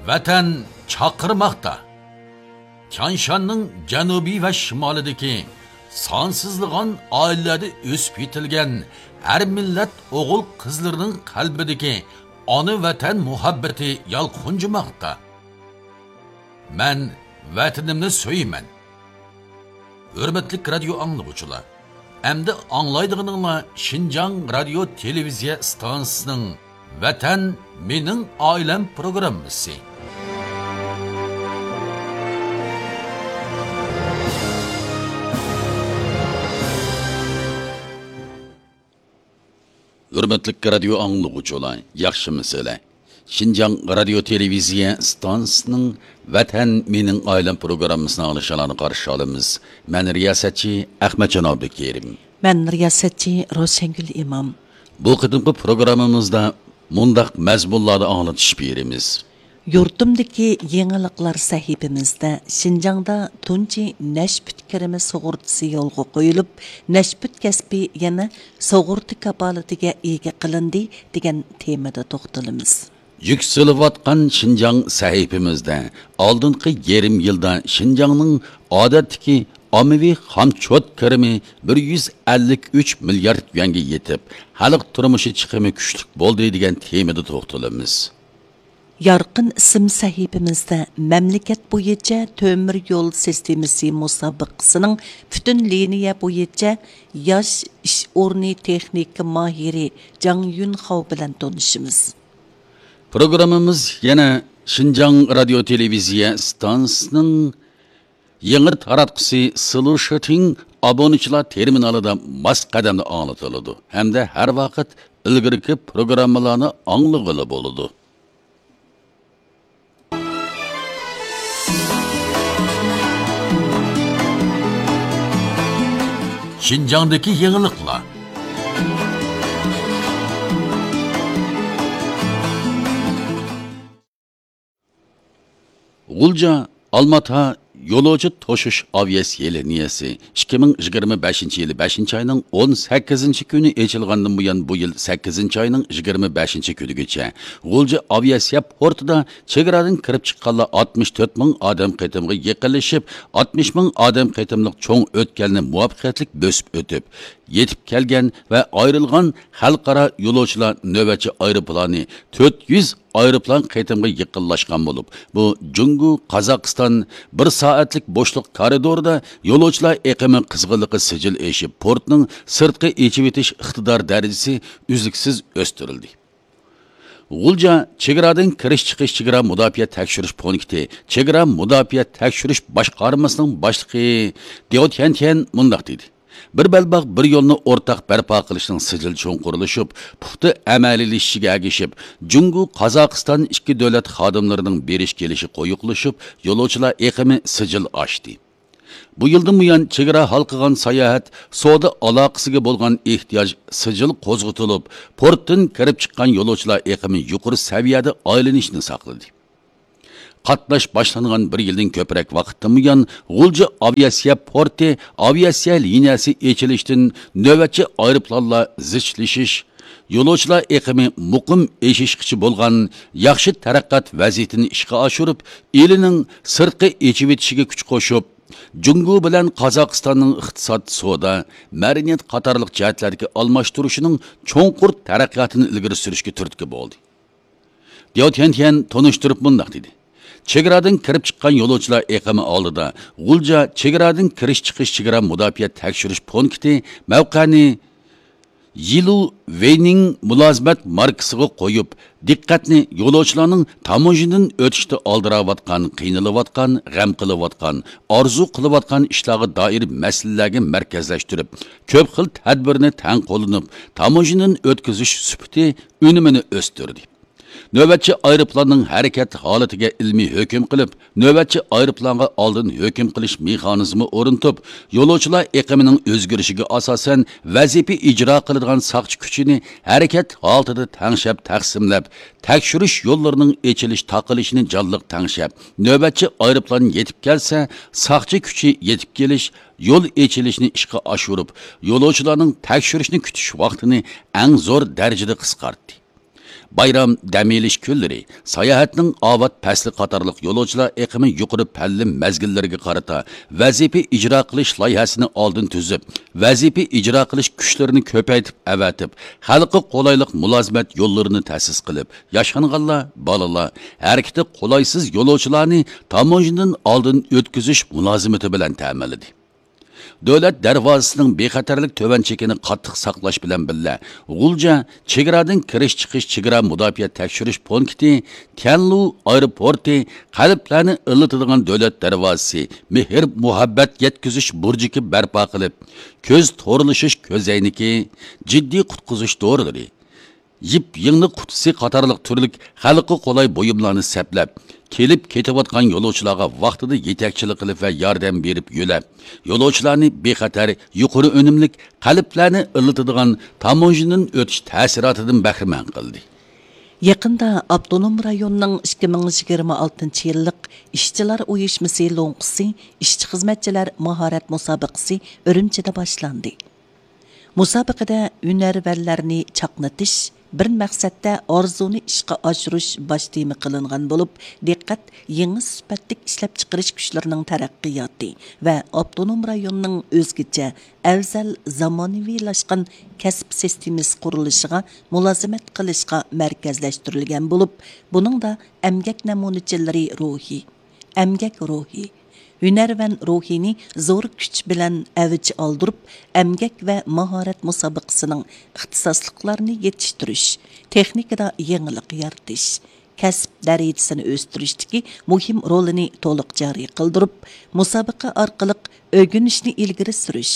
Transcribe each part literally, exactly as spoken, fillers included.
ۋەتەن چاقىرماقتا. تيانشاننىڭ جەنۇبى ۋە شىمالىدىكى سانسىزلىغان ئائىلىلەردە ئۆسۈپ يېتىلگەن ھەر مىللەت ئوغۇل-قىزلىرىنىڭ قەلبىدىكى ئانا ۋەتەن مۇھەببىتى يالقۇنجىماقتا. مەن ۋەتىنىمنى سۆيىمەن. ھۆرمەتلىك رادىيو ئاڭلىغۇچىلار، ئەمدى ئاڭلايدىغىنىڭلار شىنجاڭ رادىيو تېلېۋىزىيە ئىستانسىسىنىڭ ۋەتەن مېنىڭ ئائىلەم پروگراممىسى. ھۆرمەتلىك رادىيو ئاڭلىغۇچىلار، ياخشىمۇسىلەر؟ شىنجاڭ رادىيو تېلېۋىزىيە ئىستانسىسىنىڭ ۋەتەن مېنىڭ ئائىلەم پروگراممىسىنى ئاڭلىشىڭلارنى قارشى ئالىمىز. مەن رىياسەتچى ئەخمەتجان ئابدۇكېرىم. مەن رىياسەتچى روشەنگۈل ئىمام. بۇ قېتىمقى پروگراممىمىزدا مۇنداق مەزمۇنلاردا ئاڭلىتىش بېرىمىز. يۇرتۇمدىكى يېڭىلىقلار سەھىپىمىزدە شىنجاڭدا تۇنجى نەشپۈت كىرىمى سۇغۇرتىسى يولغا قويۇلۇپ، نەشپۈت كەسپى يەنە سۇغۇرتا كاپالىتىگە ئىگە قىلىندى دېگەن تېمىدا توختىلىمىز. يۈكسىلىۋاتقان شىنجاڭ سەھىپىمىزدە ئالدىنقى يېرىم يىلدا شىنجاڭنىڭ ئادەتتىكى ئاممىۋى خامچوت كىرىمى بىر يۈز ئەللىك ئۈچ مىليارد يۈەنگە يېتىپ، خەلق تۇرمۇشى چىقىمى كۈچلۈك بولدى دېگەن تېمىدا توختىلىمىز. يارقىن ئىسىم سەھىپىمىزدە مەملىكەت بويىچە تۆمۈر يول سىستېمىسى مۇسابىقىسىنىڭ پۈتۈن لىنىيە بويىچە ياش ئىش ئورنى تېخنىكا ماھىرى جاڭ يۈنخاۋ بىلەن تونۇشىمىز. پروگراممىمىز يەنە شىنجاڭ رادىيو تېلېۋىزىيە ئىستانسىسىنىڭ يېڭى تاراتقۇسى سىلۇشىتىڭ ئابۇنىچىلار تېرمىنالىدا ماس قەدەمدە ئاڭلىتىلىدۇ ھەمدە ھەر ۋاقىت ئىلگىرىكى پروگراممىلارنى ئاڭلىغىلى بولىدۇ. شىنجاڭدىكى يېڭىلىقلار. غۇلجا ئالماتا يولۇچى توشۇش ئاۋىئاتسىيە لىنىيەسى ئىككى مىڭ يىگىرمە بەشىنچى يىلى بەشىنچى ئاينىڭ ئون سەككىزىنچى كۈنى ئېچىلغاندىن بۇيان، بۇ يىل سەككىزىنچى ئاينىڭ يىگىرمە بەشىنچى كۈنىگىچە غۇلجا ئاۋىئاتسىيە پورتىدا چېگرادىن كىرىپ چىققانلار ئاتمىش تۆت مىڭ ئادەم قېتىمغا يېقىنلىشىپ، ئاتمىش مىڭ ئادەم قېتىملىق چوڭ ئۆتكەلنى مۇۋەپپەقىيەتلىك بۆسۈپ ئۆتۈپ، يېتىپ كەلگەن ۋە ئايرىلغان خەلقئارا يولۇچىلار نۆۋەتچى ئايروپىلانى تۆت يۈز ئايروپىلان قېتىمغا يېقىنلاشقان بولۇپ، بۇ جۇڭگو، قازاقىستان بىر سائەتلىك بوشلۇق كارىدورىدا يولۇچىلار ئېقىمى قىزغىنلىقى سىجىل ئېشىپ، پورتنىڭ سىرتقا ئېچىۋېتىش ئىقتىدار دەرىجىسى ئۈزلۈكسىز ئۆستۈرۈلدى. غۇلجا چېگرادىن كىرىش چىقىش چېگرا مۇداپىئە تەكشۈرۈش پونكىتى چېگرا مۇداپىئە تەكشۈرۈش باشقارمىسىنىڭ باشلىقى دياۋ تيەنتيەن مۇنداق دېدى. بىر بەلباغ، بىر يولنى ئورتاق بەرپا قىلىشنىڭ سىجىل چوڭقۇرلىشىپ، پۇختا ئەمەلىيلىشىشىگە ئەگىشىپ، جۇڭگو، قازاقىستان ئىككى دۆلەت خادىملىرىنىڭ بېرىش كېلىشى قويۇقلىشىپ، يولۇچىلار ئېقىمى سىجىل ئاشتى. بۇ يىلدىن بۇيان، چېگرا ھالقىغان ساياھەت، سودا ئالاقىسىگە بولغان ئېھتىياج سىجىل قوزغىتىلىپ، پورتتىن كىرىپ چىققان يولۇچىلار ئېقىمى يۇقىرى سەۋىيەدە ئايلىنىشنى ساقلىدى. قاتناش باشلانغان بىر يىلدىن كۆپرەك ۋاقىتتىن بۇيان، غۇلجا ئاۋىئاتسىيە پورتى ئاۋىئاتسىيە لىنىيەسى ئېچىلىشتىن نۆۋەتچى ئايروپىلانلار زىچلىشىش، يولۇچىلار ئېقىمى مۇقىم ئېشىشقىچە بولغان ياخشى تەرەققىيات ۋەزىيىتىنى ئىشقا ئاشۇرۇپ، ئىلىنىڭ سىرتقا ئېچىۋېتىشىگە كۈچ قوشۇپ، جۇڭگو بىلەن قازاقىستاننىڭ ئىقتىساد، سودا، مەدەنىيەت قاتارلىق جەھەتلەردىكى ئالماشتۇرۇشىنىڭ چوڭقۇر تەرەققىياتىنى ئىلگىرى سۈرۈشكە تۈرتكە بولدى. دياۋ تيەنتيەن تونۇشتۇرۇپ مۇنداق دېدى: چېگرادىن كىرىپ چىققان يولۇچىلار ئېقىمى ئالدىدا غۇلجا چېگرادىن كىرىش چىقىش چېگرا مۇداپىئە تەكشۈرۈش پونكىتى مەۋقەنى يىلۇ ۋېينىڭ مۇلازىمەت ماركىسىغا قويۇپ، دىققەتنى يولۇچىلارنىڭ تاموژنىدىن ئۆتۈشتە ئالدىراۋاتقان، قىينىلىۋاتقان، غەم قىلىۋاتقان، ئارزۇ قىلىۋاتقان ئىشلارغا دائىر مەسىلىلەرگە مەركەزلەشتۈرۈپ، كۆپ خىل تەدبىرنى تەڭ قوللىنىپ، تاموژنىدىن ئۆتكۈزۈش سۈپىتى، ئۈنۈمىنى ئۆستۈردى. نۆۋەتچى ئايروپىلاننىڭ ھەرىكەت ھالىتىگە ئىلمىي ھۆكۈم قىلىپ، نۆۋەتچى ئايروپىلانغا ئالدىن ھۆكۈم قىلىش مېخانىزمى ئورنىتىپ، يولۇچىلار ئېقىمىنىڭ ئۆزگىرىشىگە ئاساسەن، ۋەزىپە ئىجرا قىلىدىغان ساقچى كۈچىنى ھەرىكەت ھالىتىدە تەڭشەپ تەقسىملەپ، تەكشۈرۈش يوللىرىنىڭ ئېچىلىش تاقىلىشىنى جانلىق تەڭشەپ، نۆۋەتچى ئايروپىلان يېتىپ كەلسە، ساقچى كۈچى يېتىپ كېلىش، يول ئېچىلىشنى ئىشقا ئاشۇرۇپ، يولۇچىلارنىڭ تەكشۈرۈشنى كۈتۈش ۋاقتىنى ئەڭ زور دەرىجىدە قىسقارتتى. بايرام، دەم ئېلىش كۈنلىرى، ساياھەتنىڭ ئاۋات پەسلى قاتارلىق يولۇچىلار ئېقىمى يۇقىرى پەللىم مەزگىللىرىگە قارىتا ۋەزىپە ئىجرا قىلىش لايىھەسىنى ئالدىن تۈزۈپ، ۋەزىپە ئىجرا قىلىش كۈچلىرىنى كۆپەيتىپ ئەۋەتىپ، خەلققە قولايلىق مۇلازىمەت يوللىرىنى تەسىس قىلىپ، ياشانغانلار، بالىلار، ھەرىكىتى قولايسىز يولۇچىلارنى تاموژنىدىن ئالدىن ئۆتكۈزۈش مۇلازىمىتى بىلەن تەمىنلىدى. دۆلەت دەرۋازىسىنىڭ بىخەتەرلىك تۆۋەن چېكىنى قاتتىق ساقلاش بىلەن بىللە، غۇلجا چېگرادىن كىرىش چىقىش چېگرا مۇداپىئە تەكشۈرۈش پونكىتى، تيەنلۇ ئايروپورتى، قەلبلەرنى ئىللىتىدىغان دۆلەت دەرۋازىسى، مېھىر مۇھەببەت يەتكۈزۈش بۇرجىكى بەرپا قىلىپ، كۆز تورلىشىش كۆزەينىكى، جىددىي قۇتقۇزۇش دورىلىرى، يىپ يىڭنە قۇتىسى قاتارلىق تۈرلۈك خەلققە قولاي بۇيۇملارنى سەپلەپ، كېلىپ كېتىۋاتقان يولۇچىلارغا ۋاقتىدا يېتەكچىلىك قىلىپ ۋە ياردەم بېرىپ يۆلەپ، يولۇچىلارنى بىخەتەر، يۇقىرى ئۈنۈملۈك، قەلبلەرنى ئىللىتىدىغان تاموژنىدىن ئۆتۈش تەسىراتىدىن بەھرىمەن قىلدى. يېقىندا ئاپتونوم رايوننىڭ ئىككى مىڭ يىگىرمە ئالتىنچى يىللىق ئىشچىلار ئۇيۇشمىسى لوڭقىسى ئىشچى-خىزمەتچىلەر ماھارەت مۇسابىقىسى ئۈرۈمچىدە باشلاندى. مۇسابىقىدە ھۈنەرۋەنلەرنى چاقنىتىش، بىر مەقسەتتە ئارزۇنى ئىشقا ئاشۇرۇش باش تېما قىلىنغان بولۇپ، دىققەت يېڭى سۈپەتلىك ئىشلەپچىقىرىش كۈچلىرىنىڭ تەرەققىياتى ۋە ئاپتونوم رايوننىڭ ئۆزگىچە، ئەۋزەل، زامانىۋىلاشقان كەسىپ سىستېمىسى قۇرۇلۇشىغا مۇلازىمەت قىلىشقا مەركەزلەشتۈرۈلگەن بولۇپ، بۇنىڭدا ئەمگەك نەمۇنىچىلىرى روھى، ئەمگەك روھى، ھۈنەرۋەن روھىنى زور كۈچ بىلەن ئەۋج ئالدۇرۇپ، ئەمگەك ۋە ماھارەت مۇسابىقىسىنىڭ ئىختىساسلىقلارنى يېتىشتۈرۈش، تېخنىكىدا يېڭىلىق يارىتىش، كەسىپ دەرىجىسىنى ئۆستۈرۈشتىكى مۇھىم رولىنى تولۇق جارى قىلدۇرۇپ، مۇسابىقە ئارقىلىق ئۆگىنىشنى ئىلگىرى سۈرۈش،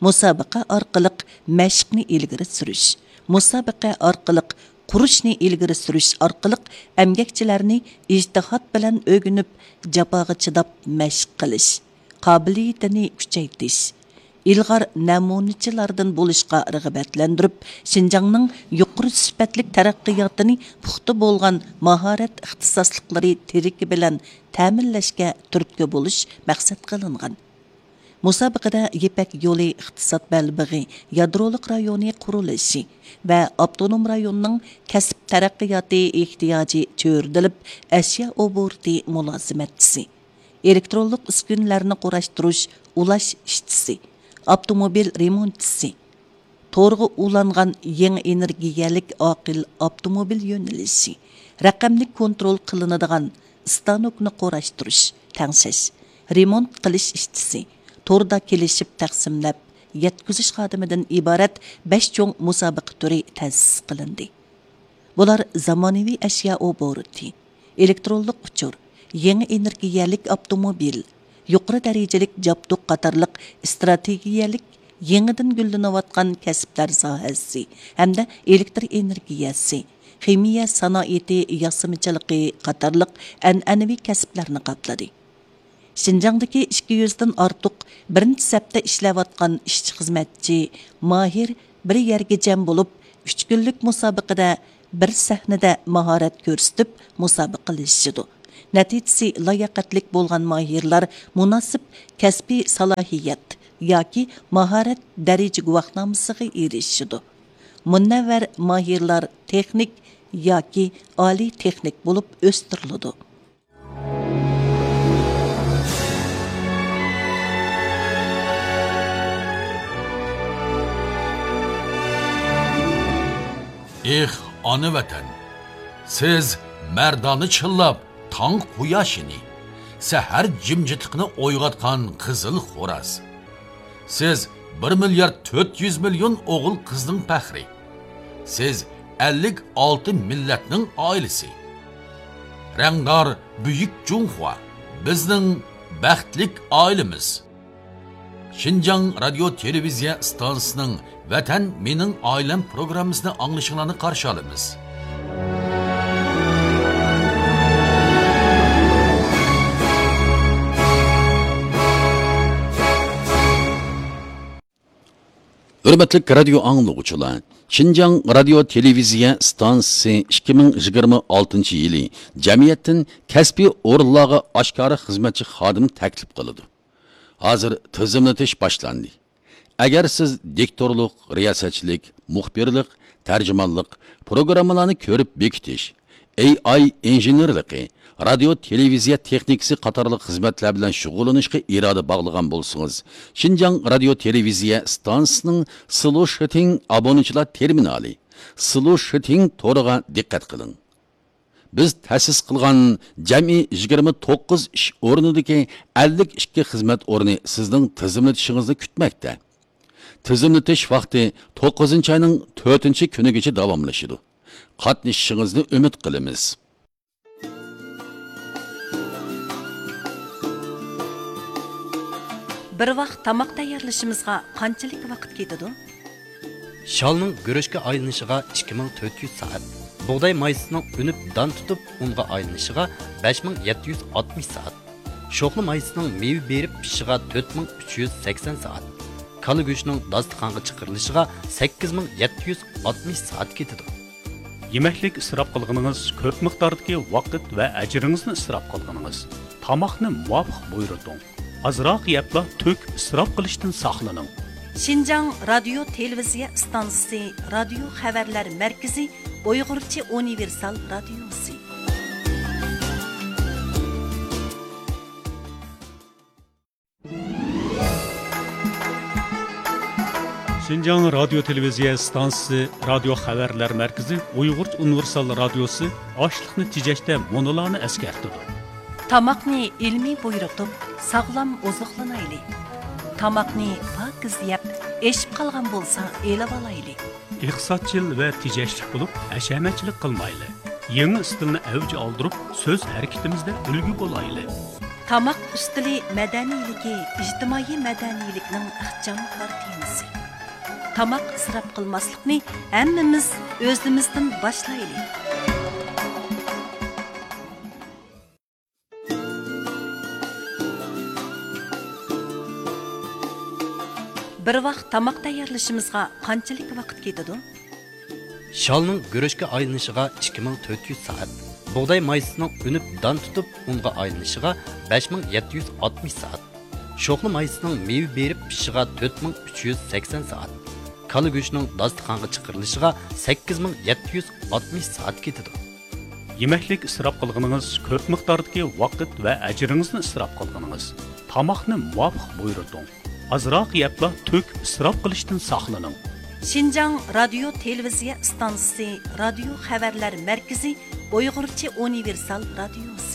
مۇسابىقە ئارقىلىق مەشىقنى ئىلگىرى سۈرۈش، مۇسابىقە ئارقىلىق قۇرۇشنى ئىلگىرى سۈرۈش ئارقىلىق ئەمگەكچىلەرنى ئىجتىھات بىلەن ئۆگىنىپ، جاپاغا چىداپ مەشىق قىلىش قابىلىيىتىنى كۈچەيتىش، ئىلغار نەمۇنىچىلاردىن بولۇشقا رىغبەتلەندۈرۈپ، شىنجاڭنىڭ يۇقىرى سۈپەتلىك تەرەققىياتىنى پۇختا بولغان ماھارەت ئىختىساسلىقلىرى تىرىكى بىلەن تەمىنلەشكە تۈرتكە بولۇش مەقسەت قىلىنغان. مۇسابىقىدە يىپەك يولى ئىقتىساد بەلبېغى يادرولۇق رايونى قۇرۇلۇشى ۋە ئاپتونوم رايوننىڭ كەسىپ تەرەققىياتى ئېھتىياجى چۆرىدىلىپ، ئەشيا ئوبوروتى مۇلازىمەتچىسى، ئېلېكترونلۇق ئۈسكۈنىلەرنى قۇراشتۇرۇش ئۇلاش ئىشچىسى، ئاپتوموبىل رېمونتچىسى، تورغا ئۇلانغان يېڭى ئېنېرگىيەلىك ئاقىل ئاپتوموبىل يۆنىلىشى، رەقەملىك كونترول قىلىنىدىغان ئىستانوكنى قۇراشتۇرۇش، تەڭشەش، رېمونت قىلىش ئىشچىسى، توردا كېلىشىپ تەقسىملەپ يەتكۈزۈش خادىمىدىن ئىبارەت بەش چوڭ مۇسابىقە تۈرى تەسىس قىلىندى. بۇلار زامانىۋى ئەشيا ئوبوروتى، ئېلېكترونلۇق ئۇچۇر، يېڭى ئېنېرگىيەلىك ئاپتوموبىل، يۇقىرى دەرىجىلىك جابدۇق قاتارلىق ئىستراتېگىيەلىك يېڭىدىن گۈللىنىۋاتقان كەسىپلەر ساھەسى ھەمدە ئېلېكتر ئېنېرگىيەسى، خىمىيە سانائىتى ياسىمىچىلىقى قاتارلىق ئەنئەنىۋى كەسىپلەرنى قاپلىدى. شىنجاڭدىكى ئىككى يۈزدىن ئارتۇق بىرىنچى سەپتە ئىشلەۋاتقان ئىشچى-خىزمەتچى، ماھىر بىر يەرگە جەم بولۇپ، ئۈچ كۈنلۈك مۇسابىقىدە بىر سەھنىدە ماھارەت كۆرسىتىپ مۇسابىقىلىشىدۇ. نەتىجىسى لاياقەتلىك بولغان ماھىرلار مۇناسىپ كەسپىي سالاھىيەت ياكى ماھارەت دەرىجە گۇۋاھنامىسىغا ئېرىشىدۇ. مۇنەۋۋەر ماھىرلار تېخنىك ياكى ئالىي تېخنىك بولۇپ ئۆستۈرۈلىدۇ. ئېھ، ئانا ۋەتەن! سىز مەردانە چىللاپ تاڭ قۇياشىنى، سەھەر جىمجىتلىقىنى ئويغاتقان قىزىل خوراز. سىز بىر مىليارد تۆت يۈز مىليون ئوغۇل قىزنىڭ پەخرى. سىز ئەللىك ئالتە مىللەتنىڭ ئائىلىسى. رەڭدار بۈيۈك جۇڭخۇا، بىزنىڭ بەختلىك ئائىلىمىز. شىنجاڭ رادىيو تېلېۋىزىيە ئىستانسىسىنىڭ ۋەتەن مېنىڭ ئائىلەم پروگراممىسىنى ئاڭلىشىڭلارنى قارشى ئالىمىز. ھۆرمەتلىك رادىيو ئاڭلىغۇچىلار، شىنجاڭ رادىيو تېلېۋىزىيە ئىستانسىسى ئىككى مىڭ يىگىرمە ئالتىنچى يىلى جەمئىيەتتىن كەسپىي ئورۇنلارغا ئاشكارا خىزمەتچى خادىم تەكلىپ قىلىدۇ. ھازىر تىزىملىتىش باشلاندى. ئەگەر سىز دىكتورلۇق، رىياسەتچىلىك، مۇخبىرلىق، تەرجىمانلىق، پروگراممىلارنى كۆرۈپ بېكىتىش، ئېي ئاي ئىنژېنېرلىقى، رادىيو تېلېۋىزىيە تېخنىكىسى قاتارلىق خىزمەتلەر بىلەن شۇغۇللىنىشقا ئىرادە باغلىغان بولسىڭىز، شىنجاڭ رادىيو تېلېۋىزىيە ئىستانسىسىنىڭ سلۇشىتىڭ ئابۇنىچىلار تېرمىنالى، سلۇشىتىڭ تورىغا دىققەت قىلىڭ. بىز تەسىس قىلغان جەمئىي يىگىرمە توققۇز ئىش ئورنىدىكى ئەللىك ئىككى خىزمەت ئورنى سىزنىڭ تىزىملىتىشىڭىزنى كۈتمەكتە. تىزىملىتىش ۋاقتى توققۇزىنچى ئاينىڭ تۆتىنچى كۈنىگىچە داۋاملىشىدۇ. قاتنىشىشىڭىزنى ئۈمىد قىلىمىز. بىر ۋاق تاماق تەييارلىشىمىزغا قانچىلىك ۋاقىت كېتىدۇ؟ شالنىڭ گۈرۈچكە ئايلىنىشىغا ئىككى مىڭ تۆت يۈز سائەت، بۇغداي مايسىسىنىڭ ئۈنۈپ دان تۇتۇپ ئۇنغا ئايلىنىشىغا بەش مىڭ يەتتە يۈز ئاتمىش سائەت، شوخلا مايسىسىنىڭ مېۋە بېرىپ پىشىشىغا تۆت مىڭ ئۈچ يۈز سەكسەن سائەت، كالا گۆشىنىڭ داستىخانغا چىقىرىلىشىغا سەككىز مىڭ يەتتە يۈز ئاتمىش سائەت كېتىدۇ. يېمەكلىك ئىسراپ قىلغىنىڭىز كۆپ مىقداردىكى ۋاقىت ۋە ئەجرىڭىزنى ئىسراپ قىلغىنىڭىز. تاماقنى مۇۋاپىق بۇيرۇتۇڭ. ئازراق يەپلا تۆكۈپ ئىسراپ قىلىشتىن ساقلىنىڭ. شىنجاڭ رادىيو تېلېۋىزىيە ئىستانسىسى، رادىيو خەۋەرلەر مەركىزى، ئۇيغۇرچە ئۇنىۋېرسال رادىيوسى. شىنجاڭ رادىيو تېلېۋىزىيە ئىستانسىسى، رادىيو خەۋەرلەر مەركىزى، ئۇيغۇرچە ئۇنىۋېرسال رادىيوسى ئاشلىقنى تېجەشتە مۇنۇلارنى ئەسكەرتىدۇ. تاماقنى ئىلمىي بۇيرۇتۇپ، ساغلام ئوزۇقلىنايلى. تاماقنى پاكىز يەپ، ئېشىپ قالغان بولسا ئېلىۋالايلى. ئىقتىسادچىل ۋە تېجەشلىك بولۇپ، ھەشەمەتچىلىك قىلمايلى. يېڭى ئىستىلنى ئەۋج ئالدۇرۇپ، سۆز ھەرىكىتىمىزدە ئۈلگە بولايلى. تاماق ئۈستىلى مەدەنىيلىكى ئىجتىمائىي مەدەنىيلىكنىڭ ئىخچام كارتىنىسى. تاماق ئىسراپ قىلماسلىقنى ھەممىمىز ئۆزىمىزدىن باشلايلى. بىر ۋاق تاماق تەييارلىشىمىزغا قانچىلىك ۋاقىت كېتىدۇ؟ شالنىڭ گۈرۈچكە ئايلىنىشىغا ئىككى مىڭ تۆت يۈز سائەت، بۇغداي مايسىسىنىڭ ئۈنۈپ دان تۇتۇپ ئۇنغا ئايلىنىشىغا بەش مىڭ يەتتە يۈز ئاتمىش سائەت، شوخلا مايسىسىنىڭ مېۋە بېرىپ پىشىشىغا تۆت مىڭ ئۈچ يۈز سەكسەن سائەت، كالا گۆشىنىڭ داستىخانغا چىقىرىلىشىغا سەككىز مىڭ يەتتە يۈز ئاتمىش سائەت كېتىدۇ. يېمەكلىك ئىسراپ قىلغىنىڭىز كۆپ مىقداردىكى ۋاقىت ۋە ئەجرىڭىزنى ئىسراپ قىلغىنىڭىز. تاماقنى مۇۋاپىق بۇيرۇتۇڭ. ئازراق يەپلا تۆكۈپ ئىسراپ قىلىشتىن ساقلىنىڭ. شىنجاڭ رادىيو تېلېۋىزىيە ئىستانسىسى، رادىيو خەۋەرلەر مەركىزى، ئۇيغۇرچە ئۇنىۋېرسال رادىيوسى.